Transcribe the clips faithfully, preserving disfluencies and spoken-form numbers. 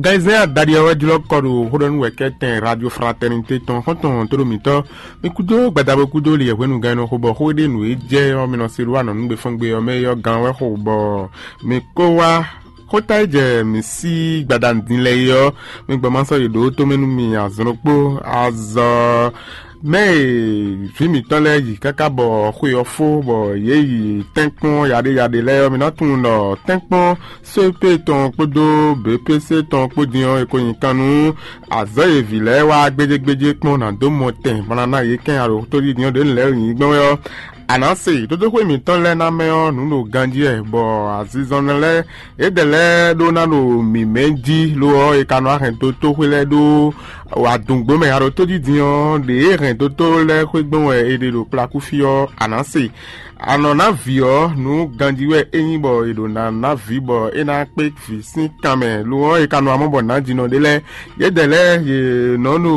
Gayizɛ́n adaɖi ɔ́ wɛ jlɔ́ kɔ ɖo xóɖɔ́núwɛ̌kɛ́tɛn Radio Fraternité tɔn xɔ́ntɔn tóɖó mǐtɔn. Mi kúdó gbadabo kúdó li yɛhwenu gán nɔ xo bɔ xó e ɖe nǔ e jɛ ɔ́ mi nɔ se ɖó anɔ̌nugbe fɔ́ngbe ɔ́ mɛ é ɔ́ gán wɛ xo bɔ mi kó wá. Xóta e jɛ mǐ sí gbadanu din lɛ́ɛ é ɔ́, mi gbɔ ma sɔ́ yi ɖǒ tomɛ nú mi azɔn ɖokpó. Azɔ mɛ e vǐ mǐtɔn lɛ́ɛ yi káká bɔ xwe ɔ́ fó bɔ yě yi tɛ́nkpɔ́n yaɖéyaɖé lɛ́ɛ ɔ́, mi ná tunwun ɖɔ tɛ́nkpɔ́n sóépé tɔn kpódó běpése tɔn kpó din ɔ́, è ko nyi kan nú azɔ̌ e vǐ lɛ́ɛ wá gbéjégbéjé kpɔ́n ná dó mɔ tɛn bɔ ná ná yě kɛn alo tóɖídin ɔ́ ɖě lɛ́ɛ nyi gbɔn wɛ ɔ́, a nǎ se dódóxwé mǐtɔn lɛ́ɛ ná mɛ ɔ́ nǔ ɖo ganjí wɛ, bɔ azinzɔnnɔ lɛ́ɛ yědɛɛ lɛ́ɛ ɖó ná ɖo mǐmɛ́ jí, lo ɔ́, è ka nɔ wá hɛn dó tóxwé lɛ́ɛ ɖó adǔngbó mɛ. A ɖo tójijin ɔ́, ɖě e hɛn dó tó lɛ́ɛ xwé gbɔn wɛ è ɖe ɖo kplakúfí ɔ́, a nǎ se. A nɔ ná vǐ ɔ́, nǔ ganjí wɛ é nyí bɔ è ɖo ná ná vǐ bɔ é ná kpé vǐ sín kan mɛ. Lo ɔ́, è ka nɔ amɔ́ bɔ nǎjínɔ ɖé lɛ́ɛ, yědɛɛ lɛ́ɛ yě nɔ ɖo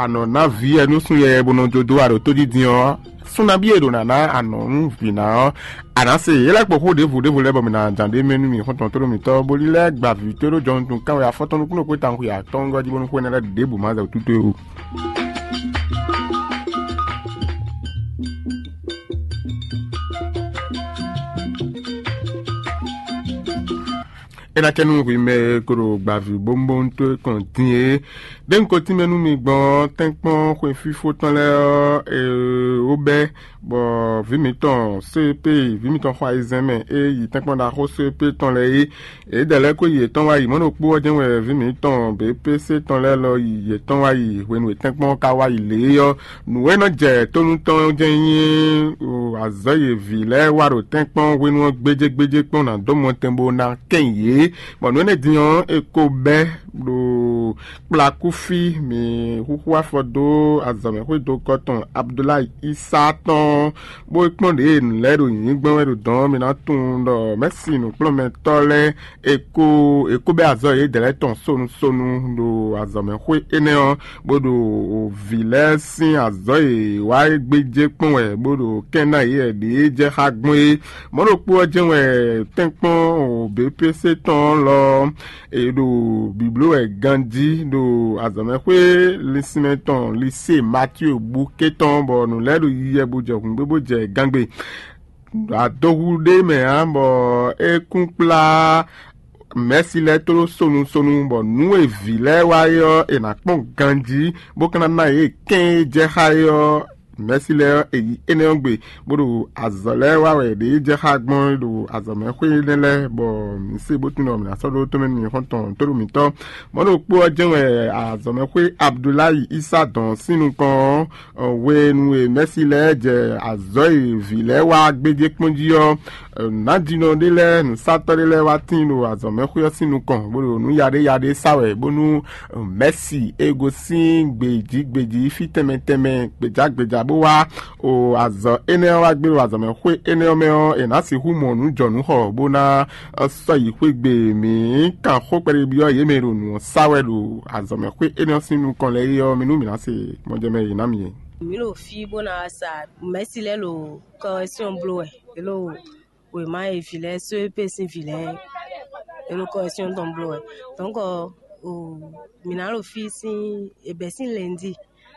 anɔ ná vǐ wɛ nú sun yɛ bó nɔ jó dó a ɖo tójijin ɔ́, sun nabí e ɖo ná ná anɔ nú vǐ ná ɔ́, a nǎ se yě lɛ́ kpo xó ɖěvo ɖěvo lɛ́ɛ bɔ mǐ ná jǎn ɖ'é mɛ nú mì xɔ́ntɔn tóɖó mǐtɔn, bó lílɛ́ gba vǐ tóɖó jɔnutun kánwé afɔtɔn nukúnnú xwé tawun xwe atɔ́ɔ́ngɔ́ jí bónú xwé énɛ́ lɛ́ɛ ɖěbǔ má zɛ wú tútú é o. É ná cɛ nú hwi mɛ e ko ɖo gbavǐ bónbóntɔ́ kɔn din é. Ɖé un ko tínmɛ nú mi gbɔn ɔ́, tɛ́nkpɔ́n xwe fífó tɔn lɛ́ɛ ɔ́, è ó bɛ́, bɔ vǐ mǐtɔn C P, vǐ mǐtɔn xɔ ayizɛ́n mɛ e yi tɛ́nkpɔ́n ɖaxó C P tɔn lɛ́ɛ é. Yědɛɛ lɛ́ɛ ko yi yětɔn wá yi. Mɔ̌ ɖokpó ɔ́ jɛ́n wɛ vǐ mǐtɔn B P C tɔn lɛ́ɛ lɔ yi yětɔn wá yi hwenu e tɛ́nkpɔ́n ɔ́ ka wá yi lě é ɔ́, nǔ e nɔ jɛ tónú tɔn ɔ́ jɛ́n nyí azɔ̌ e vǐ lɛ́ɛ wa ɖo tɛ́nkpɔ́n hwenu ɔ́ gbéjégbéjé kpɔ́n ná dó mɔtɛn bó ná kɛn yě. Bɔ nǔ énɛ́ din ɔ́, è ko bɛ́ ɖo kplakúfí mǐ xúxú afɔ dó azɔ̌mɛxwédokɔ tɔn Abdulayi Isa tɔn, bó kpɔ́n ɖě nǔ lɛ́ɛ ɖo nyǐnyí gbɔn wɛ ɖo dɔ̌n ɔ́, mi ná tunwun ɖɔ mɛ̌si nǔkplɔ́nmɛtɔ́ lɛ́ɛ è ko è ko bɛ́ azɔ̌ yědɛɛ lɛ́ɛ tɔn sonu sonu ɖo azɔ̌mɛxwé énɛ́ ɔ́, bó ɖo vǐ lɛ́ɛ sín azɔ̌ e wá é gbéjé kpɔ́n wɛ, bó ɖo kɛ́n ná yě wɛ ɖě jɛ xá gbɔn é. Mɔ̌ ɖokpó ɔ́ jɛ́n wɛ tɛ́nkpɔ́n B P C tɔn lɔ è ɖo bǐbló wɛ ganjí ɖo azɔ̌mɛxwé linsinmɛ tɔn Lisée Matíu bú ké tɔn, bɔ nǔ lɛ́ɛ ɖo yiyɛ bó jɛ hǔngbé bó jɛ gangbe. Adohu ɖé mɛ ǎ, bɔ é kún kplá mɛ̌si lɛ́ɛ tló sonu sonu, bɔ nǔ e vǐ lɛ́ɛ wa é ɔ́, è nǎ kpɔ́n ganjí, bó ka ná ná yě kɛ́n e jɛ xá é ɔ́, mɛ̌si lɛ́ɛ ɔ́, è yi énɛ́ ɔ́ gbe, bó ɖo azɔ̌ lɛ́ɛ wa wɛ ɖě jɛ xá gbɔn ɖo azɔ̌mɛxwé énɛ́ lɛ́ɛ, bɔ mǐ se bó tunwun ɖɔ mǐ ná sɔ́ ɖó tɔ́mɛ nú mì xɔ́ntɔn tóɖó mǐtɔn. Mɔ̌ ɖokpó ɔ́ jɛ́n wɛ azɔ̌mɛxwé Abdulayi Isa dɔn sín nukɔn ɔ́, hwenu e mɛ̌si lɛ́ɛ jɛ azɔ̌ e vǐ lɛ́ɛ wa gbéjé kpɔ́n jí ɔ́, nǎjínɔ ɖé lɛ́ɛ, nǔsatɔ́ ɖé lɛ́ɛ wá tíin ɖo azɔ̌mɛxwé ɔ́ sín nukɔn, bó ɖo nǔ yaɖéyaɖé sa wɛ, bónú mɛ̌si e gosín gbějí gbějí fí tɛnmɛ tɛnmɛ gbějá gbějá bó wá o azɔ̌ énɛ́ ɔ́ wá gbé ɖo azɔ̌mɛxwé énɛ́ ɔ́ mɛ ɔ́, è nǎ sixú mɔ nǔ jɔ nǔ xɔ, bó ná sɔ́ yi xwé gbe. Mǐ kan xó kpɛɖébyɔ́ yě mɛ e ɖo nǔ ɔ́ sa wɛ ɖo azɔ̌mɛxwé énɛ́ ɔ́ sín nukɔn lɛ́ɛ é ɔ́, mi nú mǐ ná se mɔjɛmɛ e yě ná mì é. Mǐ ɖo fí bó ná sa mɛ̌si lɛ́ɛ ɖo kɔrɛsyɔn bló wɛ, yě ɖo wěma e vǐ lɛ́ɛ só e pé sín vǐ lɛ́ɛ, yě ɖo kɔrɛsyɔn tɔn bló wɛ. Dɔ̌nkɔ mǐ ná ɖo fí sín è bɛ̌ sín lɛ̌ndi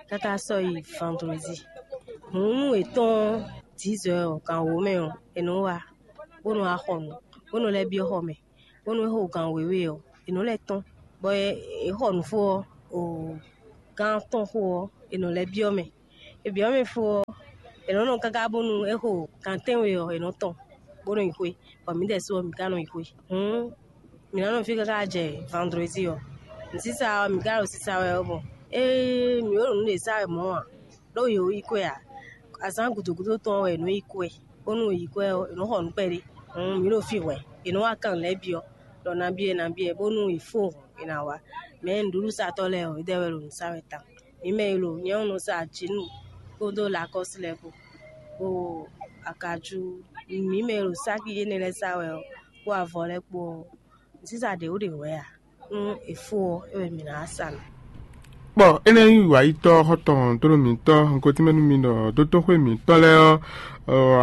káká sɔ́ yi vandredi. Hǔn nú è tɔ́n dǐzɔ́ ɔ́, gan wǒ mɛ ɔ́, è nɔ wá bó nɔ wá xɔ nǔ, bó nɔ lɛ́ byɔ́ xɔ mɛ, bónú é xo gan wěwe ɔ́, è nɔ lɛ́ tɔ́n, bɔ è xɔ nǔ fó ɔ́, o gán tɔn xo ɔ́, è nɔ lɛ́ byɔ́ mɛ. È byɔ́ mɛ fó ɔ́, è nɔ nɔ káká bónú é xo gan tɛ́nwe ɔ́, è nɔ tɔn, bó nɔ yi xwé, bɔ mǐ ɖɛ̌ su ɔ́, mǐ ka nɔ yi xwé. Hǔn mǐ ná nɔ fí káká jɛ vandredi ɔ́. Nǔsísa ɔ́, mǐ ka ɖo sisa wɛ ɔ́ gbɔn. Ée mǐ ɖo nǔ ɖě sa wɛ mɔ̌ ǎ, ɖó yě ko yi kwɛ ǎ. Azǎn gǔdo gúdo tɔn ɔ́ wɛ è nɔ yi kwɛ, bónú è yi kwɛ ɔ́, è nɔ xɔ nǔ kpɛɖé. Hǔn mǐ ɖo fí hwɛ̌, è nɔ wá kan nǔ lɛ́ɛ byɔ́, ɖɔ nabí wɛ nabí wɛ, bónú è fó hǔn è nǎ wá. Mɛ̌ nǔɖuɖusatɔ́ lɛ́ɛ ɔ́, édɛɛ wɛ ɖo nǔ sa wɛ tawun. Mǐ mɛ e ɖo nyɛ̌ nɔ sa jǐnu kpódó lakɔ́si lɛ́ɛ kpó, kpó akajú, mǐ mɛ e ɖo sáki énɛ́ lɛ́ɛ sa wɛ ɔ́, kpó avɔ lɛ́ɛ kpó ɔ́, nǔsísa ɖě wú ɖě hwɛ̌ ǎ. Nú è fó ɔ́, é wɛ mǐ ná wá sa nǔ. Kpɔ énɛ́ nyí wǎyitɔ́ xɔ́ntɔn tlóló mǐtɔn, un ko tínmɛ nú mi ɖɔ dótóxwé mǐtɔn lɛ́ɛ ɔ́,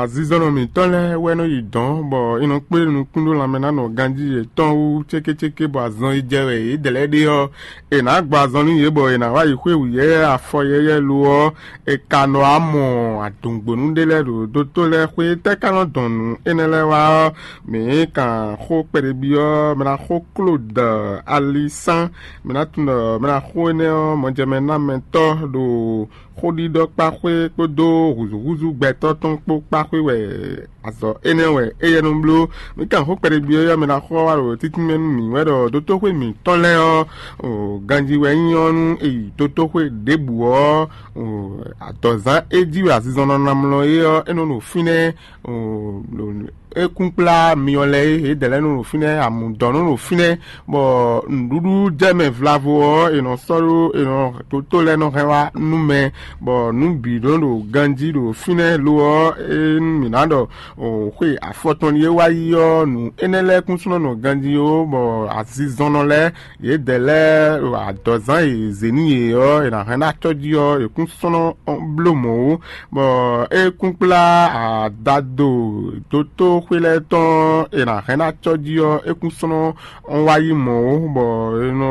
azizɔnnɔ mǐtɔn lɛ́ɛ wɛ nɔ yi dɔ̌n, bɔ è nɔ kplé nukún ɖó lanmɛ ná nɔ ganjí yětɔn wú cékécéké, bɔ azɔn e jɛ wɛ yě dlɛ̌ ɖe ɔ́, è nǎ gbɔ azɔn nú yě, bɔ è nǎ wá yi xwé wǔyɛ́yɛ́ afɔ yɛ́yɛ́ lo ɔ́, è ka nɔ wá mɔ adǔngbónú ɖé lɛ́ɛ ɖo dótó lɛ́ɛ xwé. Tɛ́ ka nɔ dɔn nǔ énɛ́ lɛ́ɛ wá ɔ́, mǐ kan xó kpɛɖébyɔ́, mɛ ná xó kló dɔ alisán, mɛ ná tunwun ɖɔ mɛ ná xó énɛ́ ɔ́, mɔjɛmɛnámɛtɔ́ ɖo xóɖiɖɔ kpáxwé kpódó hǔzúhúzú gbɛtɔ́ tɔn kpó kpáxwé wɛ azɔ̌ énɛ́ wɛ éyɛ́ nɔ bló. Mǐ kan xó kpɛɖébyɔ́ ɔ́, mɛ ná xɔ wá ɖo títínmɛ nú mǐ wɛ ɖɔ dótóxwé mǐtɔn lɛ́ɛ ɔ́, ganjí wɛ nyí ɔ́ nú è yi dótóxwé ɖěbǔ ɔ́, adɔ̌zán é jí wɛ azinzɔnnɔ ná mlɔ é ɔ́, é nɔ ɖo fínɛ́. É kún kplá myɔ lɛ́ɛ é, yědɛɛ lɛ́ɛ nɔ ɖo fínɛ́, amǔdɔn nɔ ɖo fínɛ́, bɔ nǔɖuɖu jɛ mɛ vlavo ɔ́, è nɔ sɔ́ ɖó, è nɔ dótó lɛ́ɛ nɔ hɛn wá nú mɛ, bɔ nǔ bǐ nɔ ɖo ganjí ɖo fínɛ́. Lo ɔ́, é nú mǐ ná ɖɔ xwe afɔtɔn e wá yi ɔ́, nǔ énɛ́ lɛ́ɛ kún sɔ́ nɔ nɔ ganjí ó, bɔ azinzɔnnɔ lɛ́ɛ, yědɛɛ lɛ́ɛ adɔ̌zán e è zě nú yě ɔ́, è nǎ hɛn ná acɔ́ jí ɔ́, è kún sɔ́ nɔ bló mɔ̌ ó, bɔ é kún kplá adado dótóxwé lɛ́ɛ tɔn e è nǎ hɛn ná acɔ́ jí ɔ́, é kún sɔ́ nɔ wá yi mɔ̌ ó, bɔ è nɔ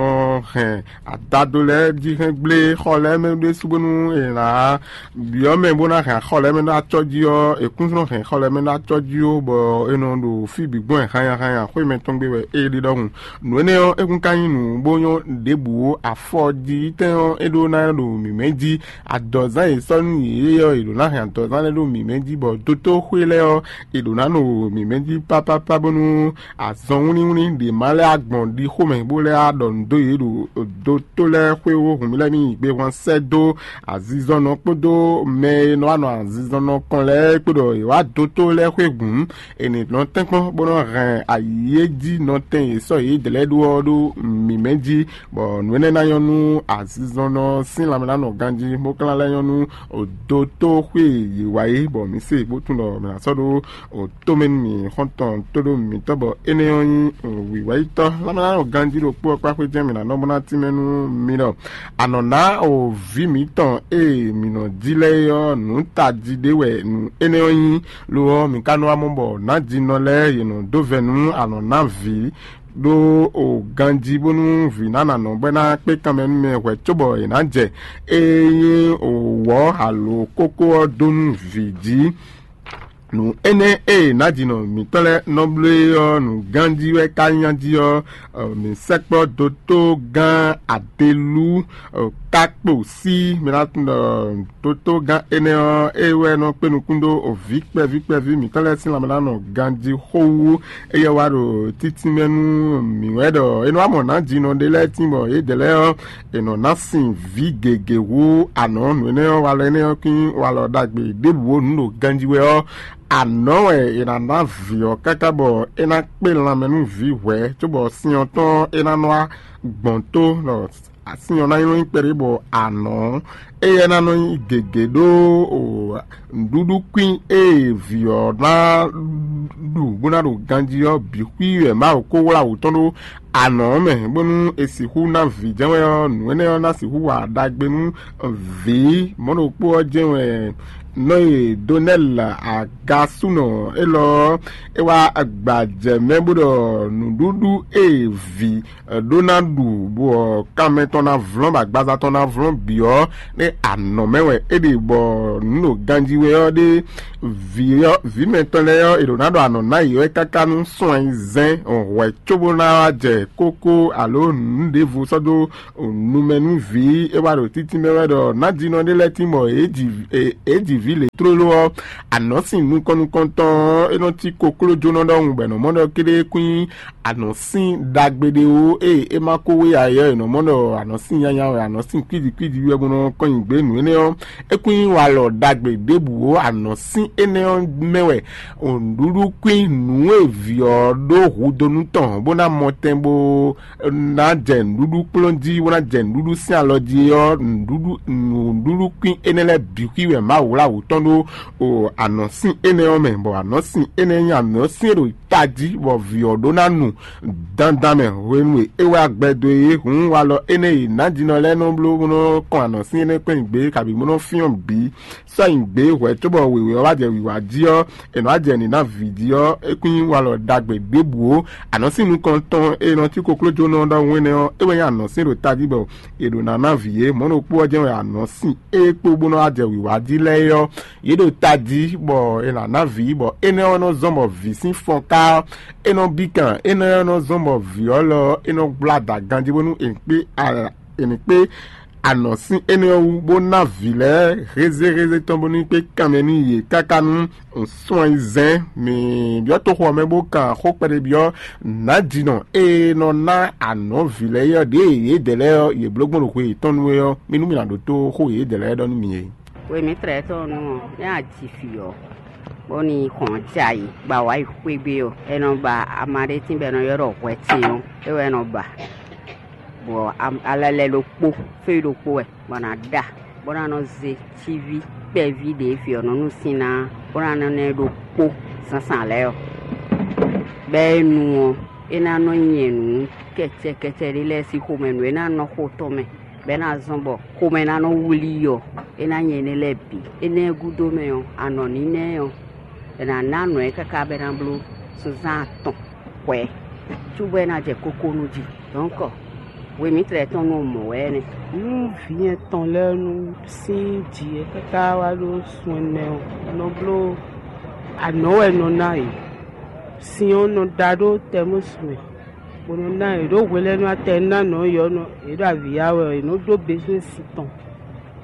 hɛn adado lɛ́ɛ jí hɛn gblé xɔ lɛ́ɛ mɛ ɖésú bónú è nǎ byɔ́ mɛ bó ná hɛn axɔ lɛ́ɛ mɛ ɖó acɔ́ jí ɔ́, è kún nɔ hɛn xɔ lɛ́ɛ mɛ ɖó acɔ́ jí ó, bɔ è nɔ ɖo fí bǐ gbɔn hanya hanya xwé mɛtɔn gbe wɛ é ɖe ɖɔhun. Nǔ énɛ́ ɔ́, é kún ka nyí nǔ bó nyɔ́ ɖěbǔ ó. Afɔ jí tɛn ɔ́, é ɖó ná ɖo mǐmɛ́ jí. Adɔ̌zán e sɔ́ nú yě ɔ́, è ɖǒ ná hɛn adɔ̌zán lɛ́ɛ ɖó mǐmɛ́ jí, bɔ dótóxwé lɛ́ɛ ɔ́, è ɖǒ ná ɖo mǐmɛ́ jí pápápá bónú azɔn wlínwlín ɖě ma lɛ́ agbɔn ɖi xomɛ bó lɛ́ á ɖɔ nǔ dó yě ɖo dótó lɛ́ɛ xwé ó. Hǔn mì lɛ́ɛ mì yi gbe hwan sɛ́ dó azinzɔnnɔ kpódó mɛ e nɔ wá nɔ azinzɔnnɔ kɔn lɛ́ɛ kpó ɖɔ è wá dótó lɛ́ɛ xwé hǔn, è nǐ nɔ tɛ́nkpɔ́n bó nɔ́ hɛn ayǐ e jí nɔtɛn e sɔ́ yě dlɛ̌ ɖó ɔ́ ɖó mǐmɛ́ jí, bɔ nǔ énɛ́ ná nyɔ́ nú azinzɔnnɔ sín lanmɛ ná nɔ ganjí, bó ka ná lɛ́ nyɔ́ nú dótó xwé e yě wá é, bɔ mǐ se bó tunwun ɖɔ mǐ ná sɔ́ ɖó tomɛ nú mì xɔ́ntɔn tóɖó mǐtɔn, bɔ énɛ́ ɔ́ nyí wǐwáyítɔ́. Lanmɛ ná nɔ ganjí ɖokpó ɔ́ kpá xwé jɛ́n mǐ ná nɔ bó ná tínmɛ nú mi ɖɔ anɔ ná o vǐ mǐtɔn e mǐ nɔ jí lɛ́ɛ é ɔ́, nǔ tají ɖé wɛ nǔ énɛ́ ɔ́ nyí. Lo ɔ́, mǐ ka nɔ wá mɔ bɔ nǎjínɔ lɛ́ɛ yě nɔ dó vɛ̌ nú anɔ ná vǐ ɖó o ganjí bónú vǐ ná nǎ nɔ bɔ é ná kpé kanmɛ nú mɛ hwɛ̌ cóbɔ è nǎ jɛ é nyí o wɔ̌ alo kókó ɔ́ dó nú vǐ jí. Nǔ énɛ́ e nǎjínɔ mǐtɔn lɛ́ɛ nɔ bló é ɔ́, nǔ ganjí wɛ ka nyí jí ɔ́, mǐ sɛkpɔ́ dótó gán Adelú ká kpo sí mi ná tunwun ɖɔ dótó gán énɛ́ ɔ́, é wɛ nɔ kpé nukún ɖó vǐ kpɛví kpɛví mǐtɔn lɛ́ɛ sín lanmɛ ná nɔ ganjí xó wú. Éyɛ́ wá ɖo títínmɛ nú mǐ wɛ ɖɔ é nɔ wá mɔ nǎjínɔ ɖé lɛ́ɛ tín bɔ yědɛɛ lɛ́ɛ ɔ́, è nɔ ná sin vǐ gěgé hú anɔ̌. Nǔ énɛ́ ɔ́, walɔ énɛ́ ɔ́ kín walɔ ɖagbe ɖěbǔ nǔ ɖo ganjí wɛ ɔ́, anɔ̌ wɛ è nǎ ná vǐ ɔ́ káká bɔ é ná kpé lanmɛ nú vǐ hwɛ̌, cóbɔ sin ɔ́ tɔn é ná nɔ wá gbɔn tó ɖɔ sin ɔ́ ná nyɔ́ nyí kpɛɖé bɔ anɔ̌ éyɛ́ ná nɔ nyí gěgé ɖó nǔɖuɖu kwín e vǐ ɔ́ ná ɖu bó ná ɖo ganjí ɔ́ bǐ xwí wɛ Mawu ko wlá wǔ tɔn ɖó anɔ̌ mɛ, bónú è sixú ná vǐ jɛ́n wɛ ɔ́, nǔ énɛ́ ɔ́ ná sixú wa ɖagbe nú vǐ. Mɔ̌ ɖokpó ɔ́ jɛ́n wɛ nɔ e Donɛ́l agasúnɔ élɔ́ ɔ́, é wá gbajɛ mɛ bó ɖɔ nǔɖuɖu e vǐ ɖó ná ɖu, bɔ kanmɛ tɔn ná vlɔ́n, bɔ agbaza tɔn ná vlɔ́n bǐ ɔ́, ɖé anɔ̌ mɛ wɛ é ɖe, bɔ nǔ ɖo ganjí wɛ ɔ́ ɖé vǐ ɔ́, vǐ mɛtɔn lɛ́ɛ ɔ́, è ɖǒ ná ɖɔ anɔ̌ ná yě wɛ káká nú sɔn ayizɛ́n hwɛ̌ cóbó ná wá jɛ kókó alo nǔ ɖěvo sɔ́ dó numɛ nú vǐ. É wá ɖo títí mɛ wɛ ɖɔ nǎjínɔ ɖé lɛ́ɛ tín bɔ é ji vǐ lě tlóló ɔ́, anɔ̌ sin nukɔn nukɔntɔn ɔ́, é nɔ cí koklójónɔ ɖɔhun bɔ è nɔ mɔ ɖɔ kéɖéé kún nyí anɔ̌sin ɖagbe ɖé ó. Ée é ma ko wé ǎ é ɔ́, è nɔ mɔ ɖɔ anɔ̌sin nyanya wɛ, anɔ̌sin kwíji kwíji wɛ bó nɔ kɔn nyi gbě nǔ énɛ́ ɔ́, é kún nyí walɔ ɖagbe ɖěbǔ ó. Anɔ̌sin énɛ́ ɔ́ mɛ wɛ nǔɖuɖu kwín nǔ e vǐ ɔ́ ɖó hudonu tɔn bó ná mɔ tɛn bó ná jɛ nǔɖuɖu kplɔ́n jí, bó ná jɛ nǔɖuɖu sín alɔ jí ɔ́, nǔɖuɖu nǔɖuɖu kwín énɛ́ lɛ́ɛ bǐ xwí wɛ Mawu wlá wǔ tɔn ɖó o anɔ̌sin énɛ́ ɔ́ mɛ, bɔ anɔ̌sin énɛ́ nyí anɔ̌sin e ɖo tají bɔ vǐ ɔ́ ɖó ná nu dandan mɛ hwenu e é wá gbɛdo é hǔn walɔ énɛ́ e nǎjínɔ lɛ́ɛ nɔ bló bó nɔ kɔn anɔ̌sin énɛ́ kpɛ́n gbé kabǐ bó nɔ fyɔ́n bǐ sɔ́ nyi gbě hwɛ̌ cóbɔ wěwé ɔ́ wá jɛ wǐwá jí ɔ́, è nɔ wá jɛ nǐ ná vǐ jí ɔ́, é kún nyí walɔ ɖagbe ɖěbǔ ó. Anɔ̌sin nukɔntɔn e nɔ cí koklójónɔ ɖɔhun énɛ́ ɔ́, é wɛ nyí anɔ̌sin ɖo tají bɔ è ɖǒ ná ná vǐ é. Mɔ̌ ɖokpó ɔ́ jɛ́n wɛ anɔ̌sin e kpó bó nɔ́ wá jɛ wǐwá jí lɛ́ɛ é ɔ́, yě ɖo tají bɔ è nǎ ná vǐ, bɔ énɛ́ ɔ́ nɔ zɔ́n bɔ vǐ sín fɔnká ɔ́, é nɔ bí kan. Énɛ́ ɔ́ nɔ zɔ́n bɔ vǐ ɔ́ lɔ ɔ́, é nɔ gbla da ganjí bónú è ní kpé a- è ní kpé anɔ̌sin énɛ́ ɔ́ wú, bó ná vǐ lɛ́ɛ hézéhézé tɔn bónú kpé kanmɛ nú yě káká nú sunyizɛ́n. Mǐ byɔ́ toxo ɔ́ mɛ bó kan xó kpɛɖé byɔ́ nǎjínɔ e nɔ ná anɔ̌ vǐ lɛ́ɛ é ɔ́, ɖěe yědɛɛ lɛ́ɛ ɔ́, yě bló gbɔn ɖo xwe yětɔn nu é ɔ́, mí nú mì nǎ ɖótó xó e yědɛɛ lɛ́ɛ ɖɔ nú mì é. Hwemǐtrɛ́ tɔn nú ɔ́, é a ji fǐ ɔ́, bó ní hɔn jɛ ayǐ gba wá yi xwé gbé ɔ́, é nɔ ba ama ɖé tín bɔ è nɔ ylɔ́ ɖɔ hwɛtin ɔ́, é wɛ é nɔ ba. Bɔ alɛlɛ ɖokpó, fí ɖokpó wɛ, bɔ è nǎ ɖa, bó ná nɔ zé cíví kpɛví ɖě vǐ ɔ́ nɔ nú sín ná, bó ná nɔ ná ɛ ɖokpó zǎnzǎn lɛ́ɛ ɔ́. Bɔ é nu ɔ́, é ná nɔ nyɛ nǔ kɛcɛkɛcɛ ɖé lɛ́ɛ sín xomɛ nǔ e ná nɔ xo tɔn mɛ, bɔ é ná zɔ́n bɔ xomɛ ná nɔ wlí ɔ́, é ná nyɛ énɛ́ lɛ́ɛ bǐ. Énɛ́ gúdo mɛ ɔ́, anɔ̌ nínɛ́ ɔ́, è nǎ ná nǔ ɛ káká bɔ é ná bló sunzán atɔn hwɛ̌, cóbɔ é ná jɛ kókó nú jí. Dɔ̌nkɔ, hwe mǐtɛn tɔn nɔ mɔ̌ wɛ nɛ́. Nú vǐ nyɛ tɔn lɛ́ɛ nú sín jǐ e káká wá ɖó sun ɛnɛ ɔ́, nɔ bló anɔ̌ wɛ nɔ ná yě. Sin ɔ́ nɔ da ɖó tɛmúsu mɛ, bó nɔ ná yě ɖó hwe lɛ́ɛ nú atɛ ná nɔ̌ yě ɔ́, yě ɖo avǐ ya wɛ ɔ́, yě nɔ ɖó bezwɛ́n sin tɔn,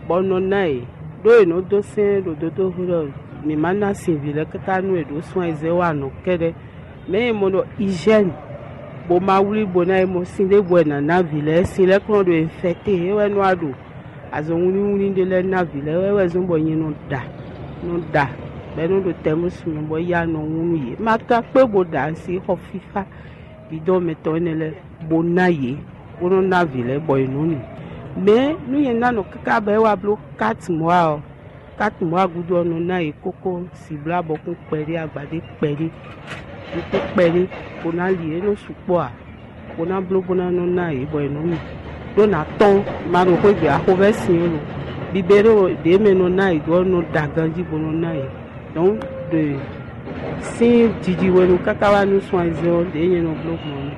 bɔ un nɔ ná yě, ɖó è nɔ dó sɛ́n ɖo dotóxwé ɖɔ mǐ ma ná sin vǐ lɛ́ɛ káká nú è ɖǒ sun ayizɛ́n wa nɔ kɛ́ɖɛ́. Mɛ̌ e mɔ ɖɔ hygiène, bó ma wlí bó ná yi mɔ sin ɖěbǔ wɛ nǎ ná vǐ lɛ́ɛ, sin lɛ́ɛ kplɔ́n ɖo infɛkté, é wɛ nɔ wá ɖo azɔn wínníwínní ɖé lɛ́ɛ ná vǐ lɛ́ɛ wɛ wɛ zɔ́n bɔ nyɛ nɔ ɖa, nɔ ɖa, bɔ é nɔ ɖo tɛmúsu mɛ bɔ yá nɔ wún nú yě. Ma ka kpé bó ɖa asi xɔ fífá bǐ dɔn mɛ tɔn énɛ́ lɛ́ɛ, bó ná yě, bó nɔ́ ná vǐ lɛ́ɛ bɔ yě nɔ́ nu. Mɛ̌ nú nyɛ ná nɔ káká bɔ é wá bló kát mɔ̌ ǎ ɔ́, kát mɔ̌ ǎ gúdo ɔ́, nɔ ná yě kókó sǐblá bɔkún kpɛɖé, agbadé kpɛɖé, nukún kpɛɖé, bó ná li, é nɔ́ sukpɔ́ ǎ, bó ná bló bó ná nɔ́ ná yě bɔ yě nɔ́ nu. Ɖó nǎ tɔ́n, ma ɖo xwé gbe axovɛ́ sin ɔ́ lo, bibéɖo ɖě mɛ nɔ ná yě dó ɔ́ nɔ da ganjí bó nɔ ná yě. Dɔ̌n ɖe sín jiji hwenu káká wá nú sun ayizɛ́n ɔ́, ɖě nyɛ nɔ bló gbɔn ɔ́.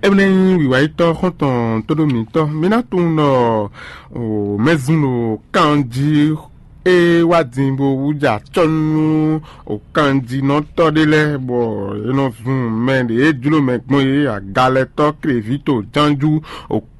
Énɛ́ nyí wǐwáyítɔ́ xɔ́ntɔn tóɖó mǐtɔn. Mi ná tunwun ɖɔ mɛzun ɖo kan jí é wá din bó wúja acɔ́ nú kanjínɔtɔ́ ɖé lɛ́ɛ, bɔ é nɔ zun mɛ ɖě jló mɛ gbɔn é, agalɛtɔ́, klevǐto, jánjú,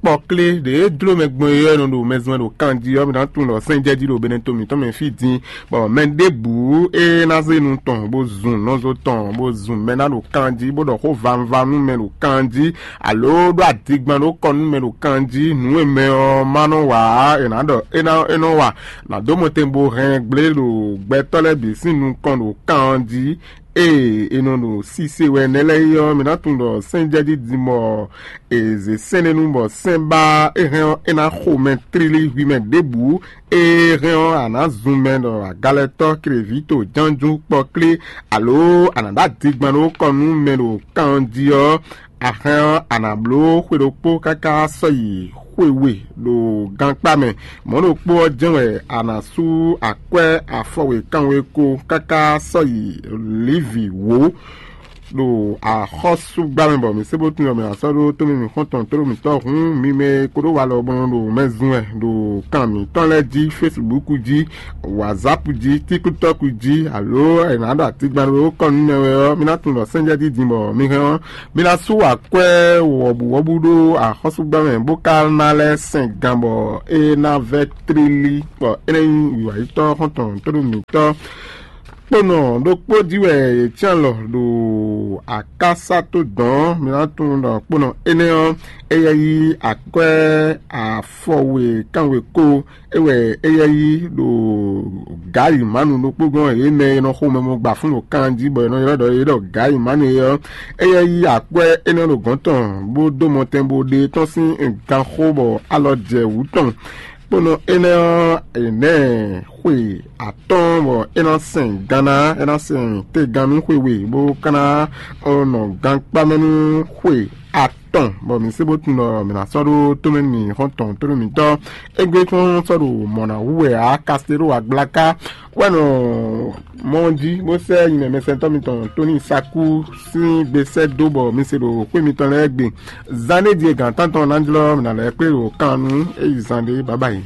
kpɔklé ɖě jló mɛ gbɔn é ɔ́, é nɔ ɖo mɛzun wɛ ɖo kanjí ɔ́, mi ná tunwun ɖɔ sɛ́n jɛ jí ɖo Benɛto mǐtɔn mɛ fí din, bɔ mɛ ɖěbǔ e ná zé nu tɔn bó zun nɔzo tɔn bó zun mɛ ná ɖo kanjí, bó ɖɔ xó vanvá nú mɛ ɖo kanjí, alo ɖó adigban ɖó kɔ nú mɛ ɖo kanjí, nǔ e mɛ ɔ́ ma nɔ wa ǎ, è nǎ ɖɔ é ná é nɔ wa, nǎ dó mɔtɛn bó hɛn gblé ɖo gbɛtɔ́ lɛ́ɛ bǐ sín nukɔn ɖo kanjí. Ée è nɔ ɖo sise wɛ nɛ́ lɛ́ɛ é ɔ́, mi ná tunwun ɖɔ sɛ́n jɛ jí din bɔ è zě sɛ́n ɖé nu bɔ sɛ́n ba é hɛn ɔ́, é ná xo mɛ tlílí hwi mɛ ɖěbǔ. Ée hɛn ɔ́, a nǎ zun mɛ ɖɔ agalɛtɔ́, klevǐto, jánjú, kpɔklé, alo a nǎ ɖó adigban ɖó kɔ nú mɛ ɖo kan jí ɔ́, a hɛn ɔ́, a nǎ bló xwe ɖokpó káká sɔ́ yi xwe we ɖo gankpá mɛ. Mɔ̌ ɖokpó ɔ́ jɛ́n wɛ a nǎ sú akwɛ́ afɔwe kanwe ko káká sɔ́ yi Livi wǒ. Ɖo axɔ́súgbá mɛ bɔ mǐ se bó tunwun ɔ́, mǐ ná sɔ́ ɖó tómɛ mǐxɔ́ntɔn tlóló mǐtɔn hǔn, mi mɛ e ko ɖó walɔ bɔ nɔ ɖo mɛ zun wɛ ɖo kan mǐtɔn lɛ́ɛ jí, Facebook jí, WhatsApp jí, TikTok jí, alo è nǎ ɖo atigban ɖó kɔn nú mɛ wɛ ɔ́, mi ná tunwun ɖɔ sɛ́njɛ́ dídin bɔ mi hɛn ɔ́, mi ná sú akwɛ́ wɔ̌buwɔ́bú ɖó axɔ́súgbá mɛ, bó ka ná lɛ́ sɛn gan bɔ é ná vɛ́ tlílí, bɔ é ná nyí wǐwǎyítɔ́ xɔ́ntɔn tlóló mǐtɔn. Kponɔ ɖokpó jí wɛ yě cyán alɔ ɖo akásá tó dɔ̌n. Mi ná tunwun ɖɔ kponɔ énɛ́ ɔ́, éyɛ́ yí akwɛ́ afɔwe kánwe kó, é wɛ éyɛ́ yí ɖo gǎyi mánu ɖokpó gɔ́n, yě mɛ e nɔ xo mɛ mɔ gba fún ɖo kan jí, bɔ è nɔ ylɔ́ ɖɔ yě ɖɔ gǎyi mánu é ɔ́, éyɛ́ yí akwɛ́ énɛ́ ɖo gɔ̌n tɔn, bó dó mɔtɛn bó ɖe tɔ́n sín ganxó, bɔ alɔ jɛ wǔ tɔn. Kponɔ énɛ́ ɔ́, è nɛ́ xwe atɔ́ɔ́n bɔ é ná sɛn ganná, é ná sɛn tegannú xwe we, bó ka ná nɔ gankpá mɛ nú xwe atɔn, bɔ mǐ se bó tunwun ɖɔ mǐ ná sɔ́ ɖó tomɛ nú mǐ xɔ́ntɔn tónú mǐtɔn. Égbé tɔn sɔ́ ɖo mɔ̌ ná wú wɛ ǎ, Kasteló agblaka wɛ nɔ mɔ ɔ́ jí, bó sɛ́ nyinɛmɛsɛntɔ́ mitɔn Tóni Sakú sín gbe sɛ́ dó bɔ mi se ɖo xwé mitɔn lɛ́ɛ gbe. Zán ɖé din e gǎn tántɔn ná jlɔ́ mǐ ná lɛ́ kplé ɖo kan nú é yi zán ɖé bǎbá yi.